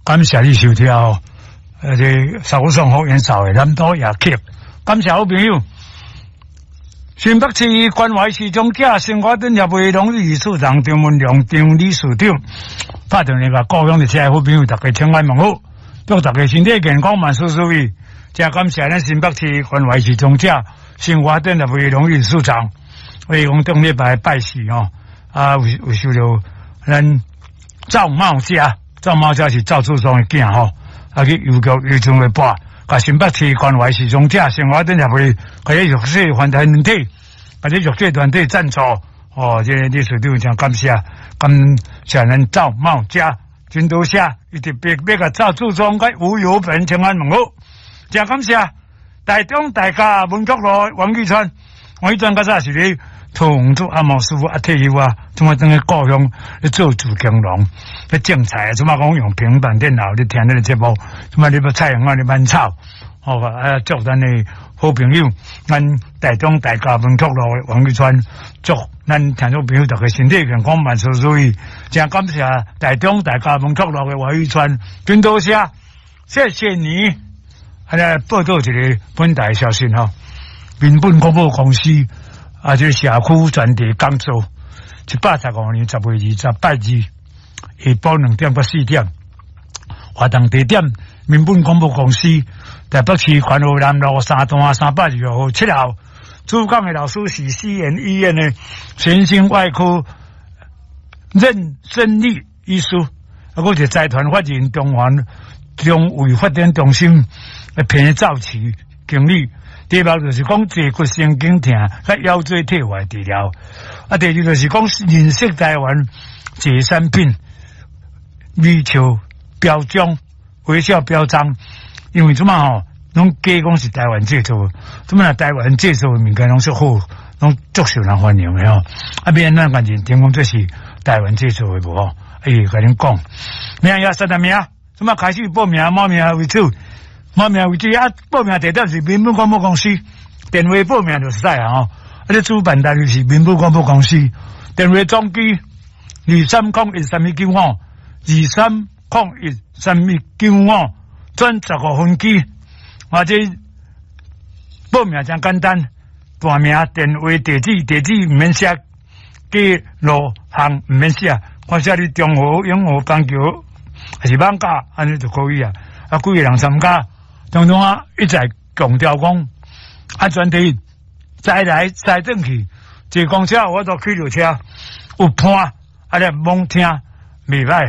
感謝你收聽哦。這薩克斯風演奏的南島夜曲，感謝好朋友。新北市關懷失聰者生活展協會榮譽理事長張文良張理事長，拍電話共故鄉的遮好朋友，大家請安問好，祝大家身體健康，萬事如意。真感謝咱新北市關懷失聰者生活展協會榮譽理事長，為講頂禮拜拜四吼，啊有有受著咱趙茂家，趙茂家是趙志松的囝吼，啊去郵局郵政的播。共新北市關懷失聰者生活展協會，共這弱勢團體，共這弱勢團體贊助，哦，這個理事長真感謝，感謝咱趙茂家，真多謝，伊特別欲共趙志忠佮吳有本請安問好，真感謝。台中大甲文國路王玉川，王玉川較早是咧桃園做按摩師傅啊，退休啊，這擺轉去故鄉咧做自耕農，咧種菜啊，這擺講用平板電腦咧聽咱的節目，這擺你欲菜園仔咧挽草，好吧？啊，祝咱的好朋友，咱台中大甲文國路的王玉川，祝咱聽眾朋友大家身體健康，萬事如意。真感謝台中大甲文國路的王玉川，真多謝，謝謝你。啊，來報道一個本台消息吼，民本廣播公司啊，這個社區專題講座，115年10月20拜二下晡2點到4點，活動地點民本廣播公司台北市環和南路三段322號7號。主講的老師是西研醫院的神經外科任勝利醫師，啊，閣是財團法人中環中衛發展中心的彭兆慈經理。題目就是講坐骨神經痛佮腰椎退化治療。啊，第二就是講認識台灣這產品微笑標章、微笑標章，因為這擺吼，攏假講是台灣製造，這擺台灣製造的物件攏是好，攏足受人歡迎的吼。啊，欲按怎共認定講這是台灣製造的無吼？伊會共恁講，名也實在名，這擺開始報名，報名為主，報名為主啊！報名地點是民本廣播公司，電話報名就是使啊吼。啊，這主辦單位是民本廣播公司，電話總機23013195，23013195，轉15分機。啊，這報名真簡單，大名、電話、地址，地址毋免寫，街路巷毋免寫，看寫佇中和、永和、板橋，還是艋舺，按呢就可以啊。啊，幾個人參加？當中啊，一再強調講，安全第一，載來載轉去，坐公車有法度去著車，有伴，啊，你罔聽袂䆀吼。